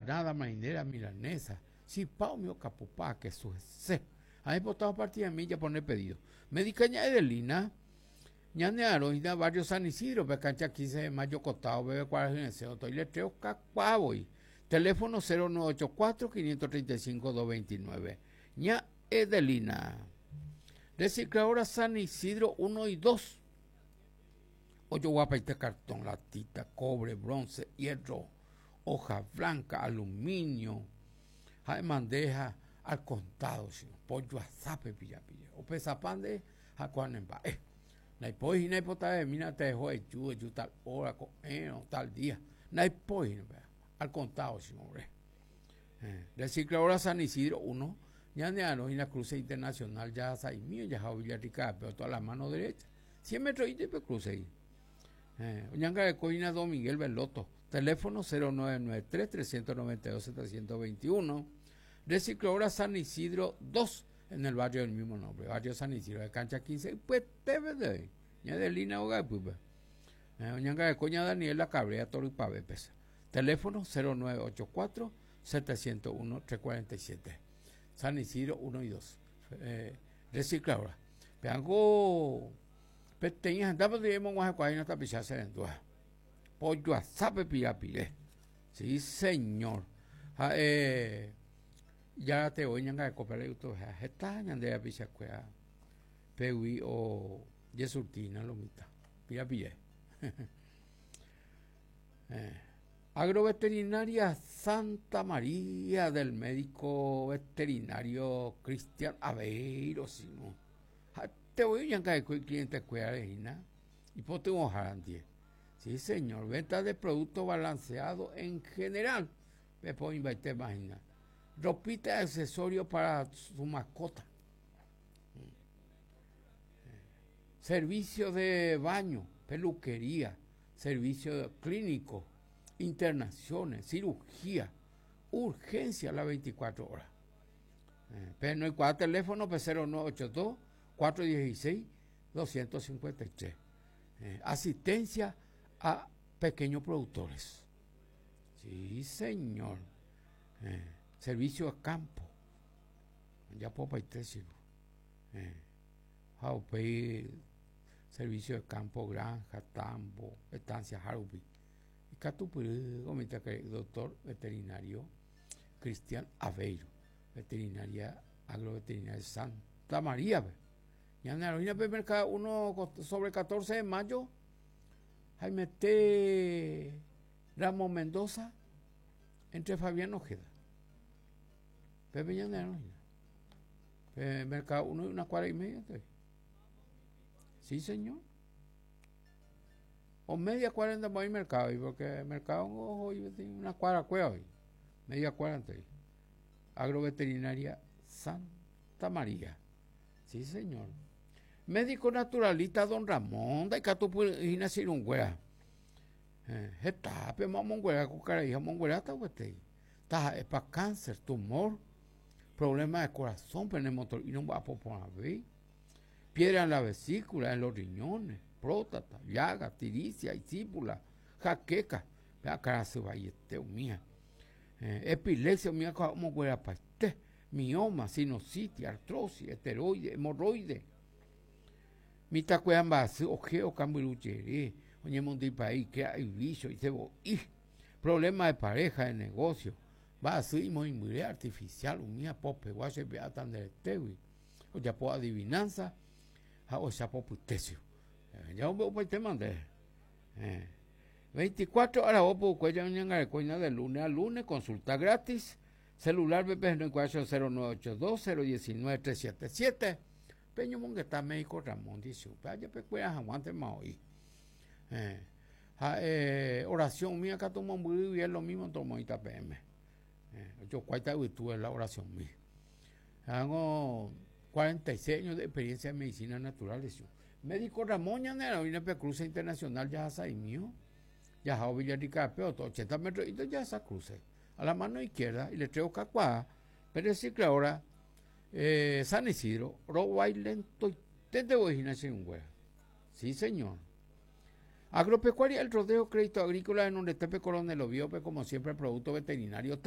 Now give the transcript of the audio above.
Empanada, marinera, milanesa, chipa umi okapupa, kesu hese. Ha aipota opartidami japone pedido. Médica ña Edelina, ñane arõ hína barrio San Isidro pe cancha 15 de mayo kotao peve kuarahy resẽ oto iletreo kakuaa voi. Teléfono 0984 535 229. Ña Edelina. Recicladora San Isidro 1 y 2. Ojoguapaite cartón, latita, cobre, bronce, hierro, hoja blanca, aluminio, ha emandeja al contado, sino pollo asápe pilla pilla. Opesapa nde ha ko'a ne mba'e. Ndaipói hína ipotavemína teho eju, eju tal hora, ko'ẽrõ, tal día. Ndaipói hína upéva. Al contado, sino ore. Eh, Recicladora San Isidro 1, ñane arõ hína cruce internacional jahasa'imi ojaha Villarrica-pe, oto a la mano derecha. 100 metro pe cruce ahí. Eh, oñangareko hína Don Miguel Veloto. Teléfono 0993 392 721. Recicladora San Isidro 2 en el barrio del mismo nombre. Barrio San Isidro de cancha 15. Ypyete de ña Adelina óga ypýpe. Eh, oñangareko ña Daniela Cabrera Torypave pesa. Teléfono 0984 701 347. San Isidro 1 y 2. Eh, recicladora. Peango peteĩ hendápe oñemog̃uahẽkuaáina tapicha che rendúva. Pojoasápe pirapire. Sí, señor. Ha'e járate voi ñangareko pe ha heta ñande rapichakuéra pegui o jesurtína lo mitã. Pirapire. eh. Agroveterinaria Santa María del médico veterinario Cristian Aveiro, sino. Ha'ete voi oñangareko icliente-kuérare hína, ipytyvõhára ndie. Sí, señor, venta de producto balanceado en general, pepo oĩmbaitéma hína. Ropita y accesorio para su mascota. Servicio de baño, peluquería, servicio clínico, internaciones, cirugía, urgencia las 24 horas. Eh, pero no hay teléfono, P0982 416 253. Eh, asistencia a pequeños productores. Sí, señor. Eh, servicio a campo. Ya puedo eh, ha upéi servicio de campo, granja, tambo, estancia hárupi. Ikatupyry omitãkarai doctor veterinario Cristian Aveiro, veterinaria agroveterinaria Santa María-pe. Ñane aroína pe mercado 1 sobre 14 de mayo, haimete Ramos Mendoza entre Fabián Ojeda. Pépe ñane aroína. Pe mercado 1 y una cuadra y media. Sí, señor. O media cuadra andamos ahí mercado, porque mercado ojo, una cuadra cueva hoy. Media cuadra antes. Agroveterinaria Santa María. Sí, señor. Médico naturalista Don Ramón, ndaikatupyry'ỹi chirũnguéra. Eh, hetápe omonguera ko karai ha omongueráta gueteri. Taha'épa cáncer, tumor, problema de corazón, pene motor'i nomba'apo porãvéi, piedra en la vesícula, en los riñones, próstata, llaga, tiricia, isípula, jaqueca, pe akãrasy vaiete umíva. Eh, epilepsia umíva ko omonguerapaite, mioma, sinusitis, artrosis, esteroide, hemorroide. Mitãkuéra mba'asy oje okambyru jere, oñemondyipae ike ivícho, isebo'i. Problema de pareja, de negocio, mba'asy imoĩmbyre artificial umíva popegua che pe'áta nde retégui, ojapo adivinanza ha ohecha popytécho. Ja ombe'upaitéma nde. 24 aravo pukukue ja oñangareko hína de lunes a lunes, consulta gratis, celular-pe pehenóikuaa che 0982 019 377, peñomongeta médico Ramón ndichupe, ajepekuera hag̃uántema oĩ. Ha'e oración umíva katu mombyry guive lo mismo tomoĩta peẽme. Ojokuáita yvytu la oración-mi. Hago 46 años de experiencia en medicina natural, decía. Médico Ramón ñane aroína pe cruce internacional jahasa'imío, jahao Villarrica-pe, otro 80 metros jahasa cruce. A la mano izquierda, y le traigo kakuaa, pe recicladora eh, San Isidro, rovái lentoiténte voi hína che irũnguéra. Sí, señor. Agropecuaria El Rodeo, Crédito Agrícola, en donde Tepe Coronel Oviedo, como siempre, producto veterinario.